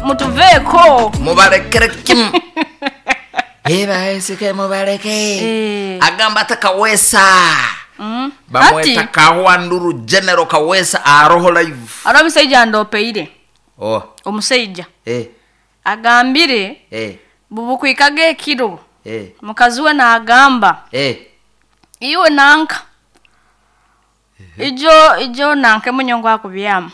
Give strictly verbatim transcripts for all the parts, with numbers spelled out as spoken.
Mutuveeko. Mubalekere kimu ebaesike mubaleke. Eh. Agamba ate Kawesa Mm. bamweta Ati Kawanduru General Kawesa aroho live. Ari omushaija ndopeire. Oh. Omushaija eh agambire eh bubukwikaga ekiro eh mukazi we nagamba eh iwe nanka ijo ijo nanka emunyongo akubyama.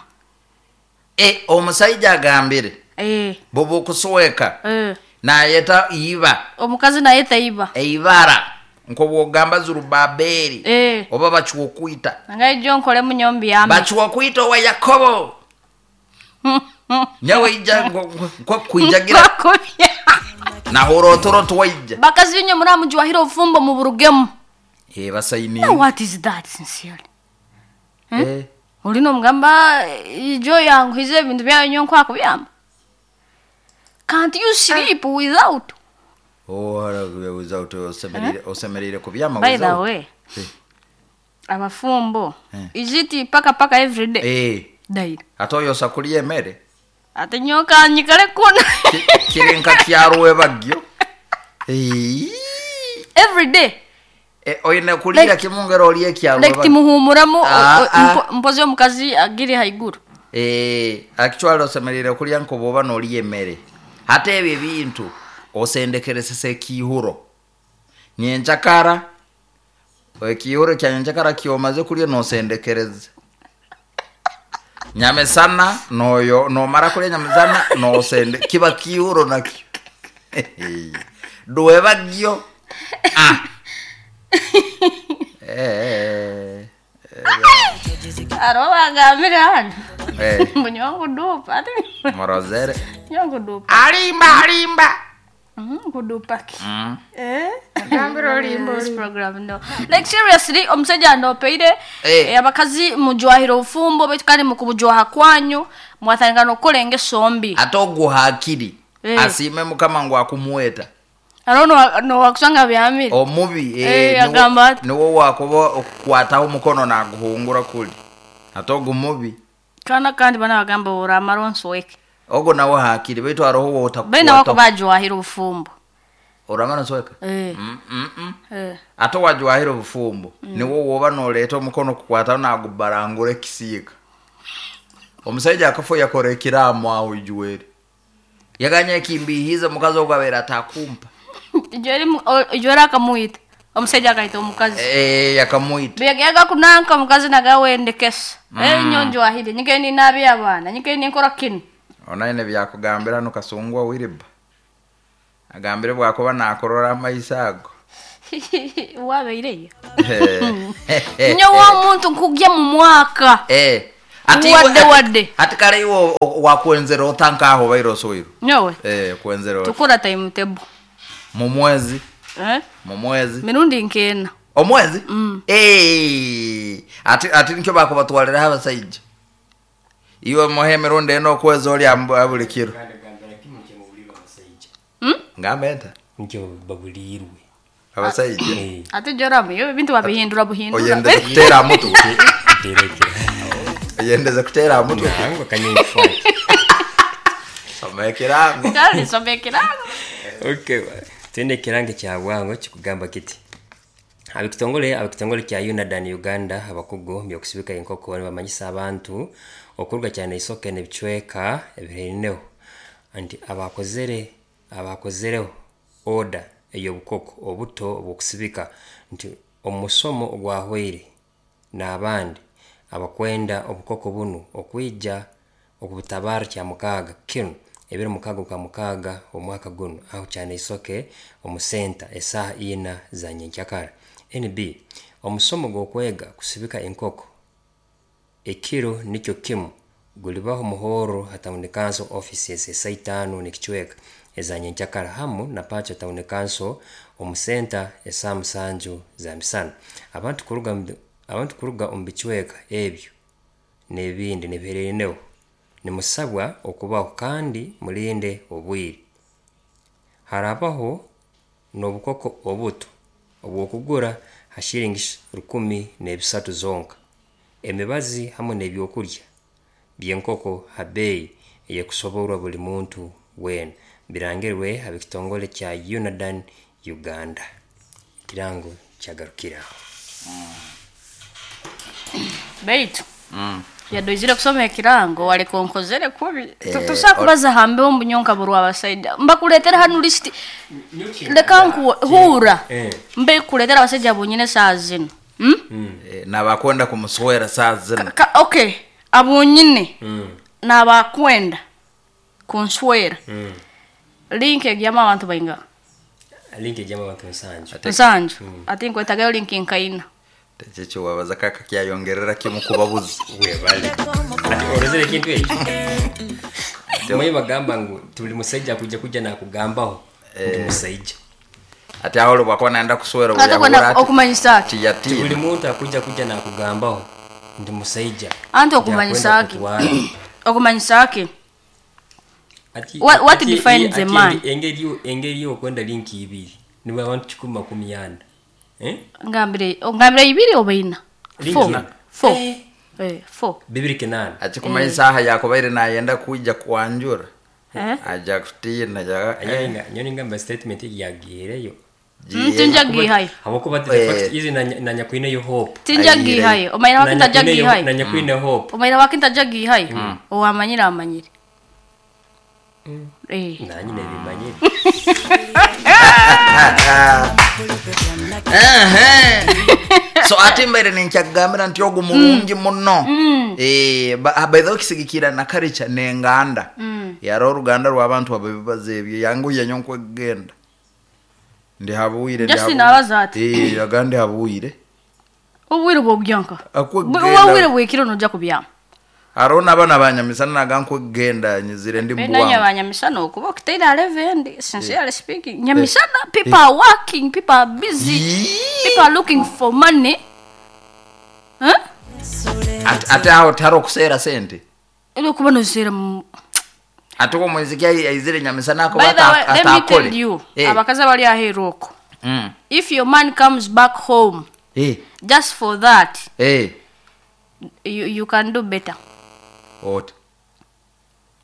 Eh, omusajja agambire Eh. bubukusweka Eh. nayeta iba. Omukazi nayeta iba. Eibara nkobwogamba Zurubabeli Eh. oba bakiwokwita. Nanga ijo nkole munyombi yame. Bakiwokwita owa Yakobo nyawe ija nkokwijagira Bakubya. nahurotoro tuwaija. Bakazi binyo muri amujwahira obufumbo mu burugemu. Eh, basaini. Now what is that sincerely? Eh. Olina omugamba ijo yanguhize ebintu byayo nyo nkwakubyama. Can't you sleep without? Oh, hara without osemerire osemerire kubyama By the without. way, Eh. abafumbo Eh. is it paka paka every day? Eh. Daily. Ate oyosa kulya emmere. Ate nyoka nyikale kuna. Ki- kiri nka kyarwe bagyo. Eh. Every day. Eh, oyina kulira Like- kimu ngero olye ekyarwe. Like timuhumuramu o- Ah, o- ah. mpo- mpozi omukazi agiri haiguru. Eh, actually osemerire kulya nkoboba n'olya emmere. Ate ebyo ebintu osendekeresesa ekihuro. Nyenjakara ekihuro kya nyenjakara kyomaze kulya nosendekereza. Nyamesana noyo nomara kulya nyamesana nosende kiba kihuro nakyo. Duwebagyo. Ah. Eh. Aro bagambire hano. Eh. Mbu dupa. Ate Morozere. nyongo dupa. Alimba alimba. Mhm, kudupa ki. Mm. Eh? This program no. Like seriously omusajja ndopeire Eh. eh, abakazi mujwahira obufumbo baitu kandi mukubujwaha kwanyu mwatandika n'okukola engeso mbi. Ate oguhakiri Eh. asiime mukama ngu akumuweta. Aro no no wakusanga byamire. Omubi Eh, eh, niwo- agamba ati. niwo wakuba okukwataho omukono naguhungura kuli ate ogu mubi. Kana kandi bana bagamba oramara onsweke. Ogwo nawe hakiri baitu haroho wotakukwataho. Baina wako bajwahira obufumbo. Oramara nsweka. Eh. Mm, mm, mm. Eh. Ate wajwahira obufumbo niwo woba noleeta omukono kukwataho nagubarangura ekisiika. Omusajja akafa yakora ekiraamo aho ijuwere yaganya ekimbihiize mukazi ogwo abeera atakumpa. Ijweri mu- o- ijweri akamwita. Omusajja akaita omukazi. Eh, yakamwita. Byageaga kunanka omukazi nagawendekesa. Eh nyonjwahire nyike ninabi abaana nyike ninkora kinu. Onaine byakugambira hano Kasungwa Wilba agambire bwakuba nakurora amaiso ago. Wabeireyo. Nyo wa muntu nkugya mu mwaka. Eh, ati Wadde iwe- wadde. ati kale iwe o- o- wakwenzera otankaho baire osoiro. Nyowe Eh, kwenzera ota. tukora timetable. Mu mwezi. Eh? Mu mwezi. Mirundi nkena. Omwezi. Mm. Eh, ati ati nikyo bakubatwaliraho abasajja iwe muhe emirundi ena okwezi oli ambu- buli kiro. Gambira kimu kyemubulirwe abasajja. Mm? Ngamba enta Nikyo babulirwe. abasajja. Eh, Ate joramu yo ebintu babihindura buhindura. Oyendeze kuteera mutwe. nterekera. Oyendeze kuteera mutwe. Nango kanyinfaki. Soma ekirango. Kandi soma ekirango. Okay, twende ekirango kya bwango kikugamba kiti. Abekitongole abekitongole kya UNADAN Uganda abakugu byokusibika enkoko nibamanyisa abantu okuruga cyane isoke n'ebicweka ebirineho nti abakozere abakozereho order ey'obukoko obuto obwokusibika nti omusomo ogwahweire n'abandi abakwenda obukoko bunu okwija okubutabara kya mukaaga kinu ebiro mukaaga kwa mukaaga omwaka guno aho cyane isoke omusenta esaaha ina za nyenkyakara. N B omusomo gw'okwega kusibika enkoko ekiro nikyo kimu gulibaho muhoro ha town council offices esaa itaano n'ekicweka eza nyenkyakara hamu na Pacho town council omusenta esaa musanju za misana. Abantu kuruga mu- abantu kuruga omu bicweka ebyo n'ebindi nibiherereneho nimusabwa okubaho kandi mulinde obwire. Harabaho n'obukoko obuto obwokugura ha shilingi rukumi n'ebisatu zonka. Emibazi hamwe n'ebyokurya by'enkoko ha beeyi eyekusoborwa buli muntu weena. Birangirwe ab'ekitongole kya UNADAN Uganda. Ekirango kyagarukiraho. Baitu yadoizire kusoma ekirango waleka onkozere kubi. Eh, Tusobola kubaza hambe omunyonka burwa abasaija mbakuletera hanu list, leka nkuhura Eh. mbe kuletera abasajja bonyine saa zino. Hmm? Eh, nabakwenda kumuswera saa zino. Ka, okay, abonyine nabakwenda kunswera. Link egyamu abantu bainga. Link ejyamu abantu nsanju. Nsanju. Ati nkwetagayo link nkaina. Tekyo wabaza kaka kyayongerera kimu kubabuzi. Webale. Ati orozere ekintu ekyo. Mwe bagamba ngu tuli musajja kuja kuja nakugambaho ndi musajja. Ati aho lwakuba naenda kuswera Ate kwenda okumanyisa ki? Tiyatina. Buli muntu akuja kuja nakugambaho ndi musajja. Anti okumanyisa ki? Okumanyisa ki? Ati What- what ati- defines ati a man? Engeri engeri yokwenda link ibiri. Niwe abantu kikumi makumi ana. Eh? Ngambire, ngambire ibiri oba ina? Link Four. ina. Four. Eh. Eh, four. Bibiri kinana. Ati kumanyisa aha yakubaire nayenda kuija kwanjura. Eh? Aja kutina ja. Anyoninga anyoninga statement yagireyo. Tinjagihayo. Habwokuba the Eh. fact is na na nyakwineyo hope. Tinjagihayo. Omaira Na wakinta nyakwineyo jagihayo. na nyakwine hope. Omaira wakinta jagihayo. Owamanyire amanyire. Eh. Nanyi nebimanyire. Ehe. So ate mbaire ninkyagambira nti ogu mulungi muno. Eh, ba- by the way kisigikira na culture n'enganda. Yari oruganda rw'abantu ababibaza ebyo yanguye nyo nkwegenda. Ndi habuire ndi Justin habuire. abaza ati. Eh, yaga ndi habuire. Obwire bw'obyanka. Akwegenda. Obwire bwekiro nojja kubyama. Hariho n'abaana banyamisana naga nkwegenda nyizire ndi Bena mbwangu. nyabanyamisana okuba okiteire eleven, sincerely speaking. Nyamisana, people are working, people are busy. Yee. People are looking for money. Huh? Ate- ate aho tihari okuseera sente. Ero kuba noseera mu Ate omwiziki aizire nyamisana akuba By the way, let me tell atakole. you, Eh. abakazi abali aheeru okwo. Mm. If your man comes back home Eh. just for that, Eh. you, you can do better. Oti.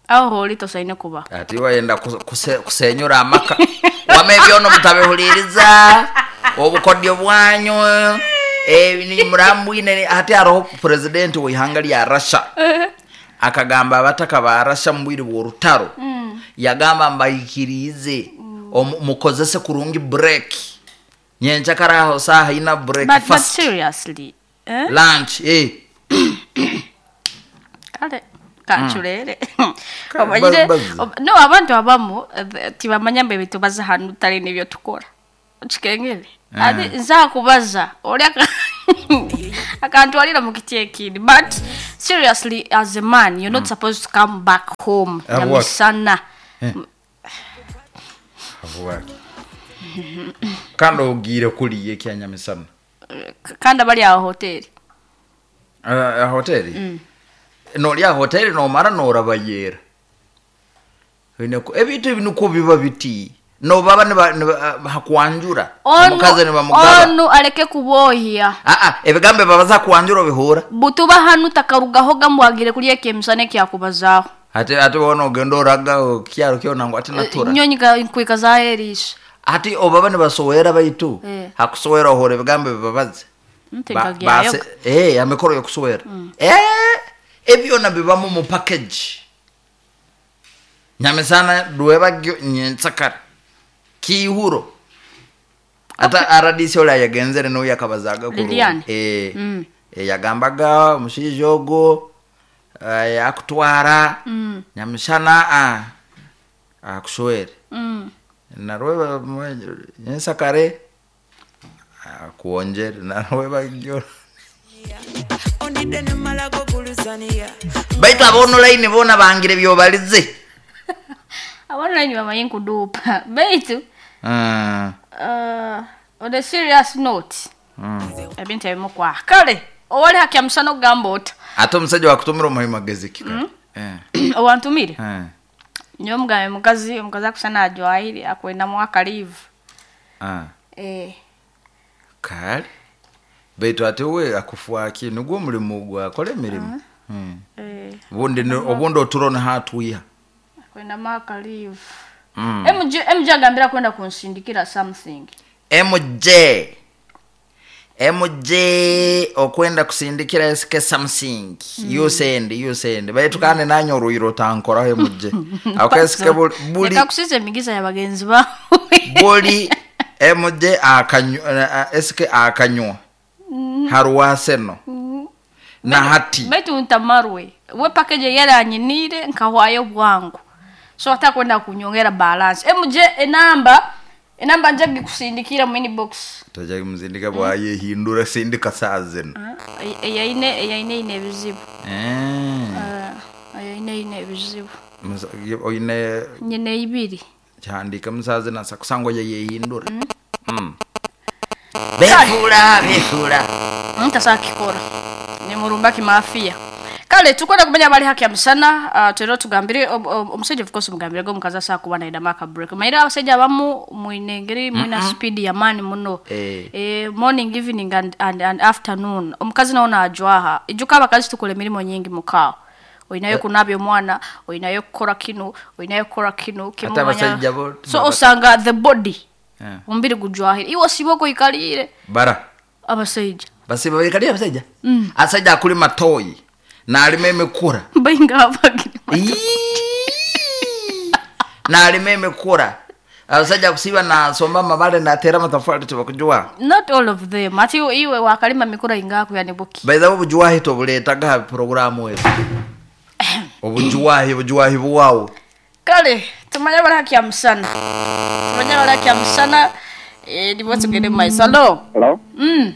Aho holi tosaine kuba. Ati wayenda kuse- kusenyura amaka. Wama ebyono mutabihuliriza. Obukodyo bwanyu. Eh, ni murambwine ate hariho president w'ihanga lya Russia. Akagamba abataka ba Russia mu bwire bw'orutaro. Yagamba mbayikirize. Omu- mukozese kurungi break. Nyencha karaho saha ina break But, but fast. seriously, eh? Lunch eh. Kale kanculere. Kale, Omanyire, bazi. ob- no abantu abamu eh, tibamanya mbe bitubaza hanu tali nibyo tukora. Okikengere. Ati nzakubaza oli aka- akantwalira mu kiti ekindi. But seriously, as a man, you're not supposed to come back home Have what? nyamisana. Avuwaki. Kandi ogiire kuliya ekyanyamisana. Eh, kandi abali aho hoteli. Uh, hoteli nolya hoteli nomara norabayera ebintu ebi nukwo biba biti nobaba niba- niba- hakwanjura omukazi nibamugaba. Onu aleke kubohya. Aa, ebigambo babaza kwanjura obihura. Butuba hanu takarugaho gamwagire kulya ekyemisana ekyakubazaaho. Ate ate wona ogenda oraga kyaro kyona ngu ate natura. Nyonyi nkwika zaherisha. Ati obaba nibasowera baitu Eh. hakusowera ohora ebigambo bibabaze. Nti Ba- nkagyayo. base- eh, amikoro yokusowera. Eh, ebyona bibamu mu package. Nyamisana dwebagyo nyensakara kihuro. Ata R D C ola yagenzere no yakabazaga kuru. Lilian. Eh, Mm. eh, yagambaga omushaija ogwo, eh, akutwara. Mm. Nyamishana a akuswere. Mm. Narweba nyensakare akuonjere narweba gyo. Baitu ab'online boona bangire byobalize. Ab'online bamanyi nkuduupa. Baitu, Mm. uh, on a serious note, Mm. ebintu ebimu kwa kale owali hakya musana okugamba ota. Ate omusajja wakutumira omuhe magezi ki kale? Eh. Owantumire? Eh. Nyowe mugambe mukazi, omukazi akusana ajwahire akwendamu akaliivu. Ah. Eh. Kale. Baitu ate we akufuaki nigwo omulimu gwe akora emirimu. Mm. Eh. Obundi ni- obundi oturo niho atwiha. Kwenda maka leave. Mm. M J M J agambira kwenda kunsindikira something. M J, M J okwenda kusindikira esike something. You send, you send, baitu kandi nanye oruhiro otankoraho M J akesike buli buli. Leka kusiza emigisa ya bagenzi bawe. Buli M J akanywa esike akanywa haruwaseno na hati. Baitu ntamarwe we package yaranyinire nkahwayo bwangu, so atakwenda kunyongera balance. M J, enamba enamba nje kusindikira mu inbox. Tojja muzindika bwayehindura sindika saa zino. Eyaine eyaine ine ebizibu. Eh. Ah, eyaine ine ebizibu. Musa- oine Nyine ibiri. Kyandika musazi nasa kusangwa yeyehindura. Mm. Befula befula. Ntasakikora ni murumba kimafia. Kale tukwenda kumenya bali haki ya musana. uh, twero tugambire ob- ob- omusajja, of course mugambire go omukazi asaa kuba naida maka break. Maira abasajja abamu mwine engeri mwina speed ya mani muno. Eh. Eh, morning, evening and, and, and afternoon omukazi nawo najwaha. Ijuka abakazi tukola emirimu nyingi mukaawo. Olinayo kunabya omwana, olinayo kukora kino, olinayo kukora kino. Ate abasajja bo- So osanga the body, Eh. omubiri gujwahire, iwe osiba okoikalire. Bara Abasajja. Basiba bekali abasajja, asajja akulima toyi nalima emikura. Bainga abagiri. Iiii. Nalima emikura, abasajja kusiba nasomba amabale natera amatafari tebakujwa. Not all of them. Ati iwe wakalima mikura ingaku yani buki. By the way, obujuwahi tobuletaga ha programu ezo, obujuwahi obujuwahi buwawo. Kale tumanye bali haki ya musana, tumanye bali haki ya musana. Eh, nibo tugende mu maiso. Alo. Hello? mm.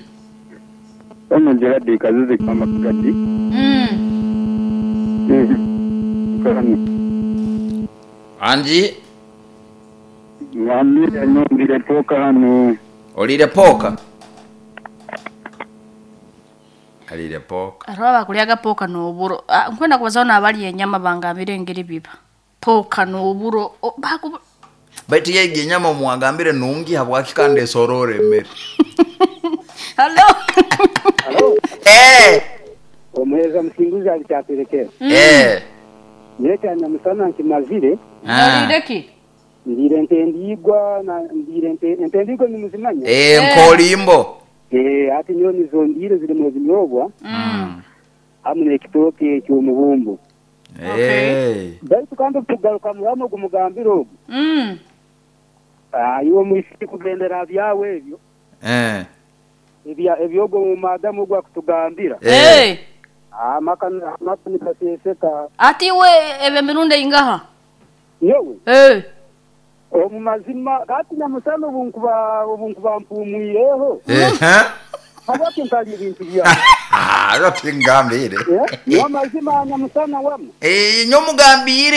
Ono Gerard Kazizi kama Kagadi. Mm. Mm. Anji. Mwambire nyongire poka hano. Olire poka, alire poka. Aro abakulyaga poka n'oburo. Ah, nkwenda kubazaho n'abalya enyama bangambire engeri biba poka n'oburo. O- baku- Baitu yegi enyama muwagambire nungi habwaki kandi esorora emmere. Halo. Hello? Eh. Omuheza musinguzi alikyaterekera. Eh. Nyekya nyamusana nkimazire. Ah. Olireki. Ndire ente ndigwa na ndire ente ente ndigwa nimuzimanya. Eh, nkolimbo. Eh, ati nyo nizo ndire ziri mu zinyobwa mm. hamwe n'ekitooke eky'omubumbu. Eh. Baitu kandi tugaruka muramo gumugambira ogu. Mm. Ah, iwe mwisi kugendera byawe ebyo. Eh. Ebya ebyogo mu madamu gwa kutugambira. Eh. Eh. Amaka amaka nikaseseka. Ati iwe ebe mirundi ingaha? Nyowe Eh. omu mazima kati nyamusana obu nkuba obu nkuba mpumwireho Eh. Ha? habwaki ntalya ebintu byawe? Ah, tingambire. Eh, niwo mazima nyamusana wamwe. Eh, nyo mugambire.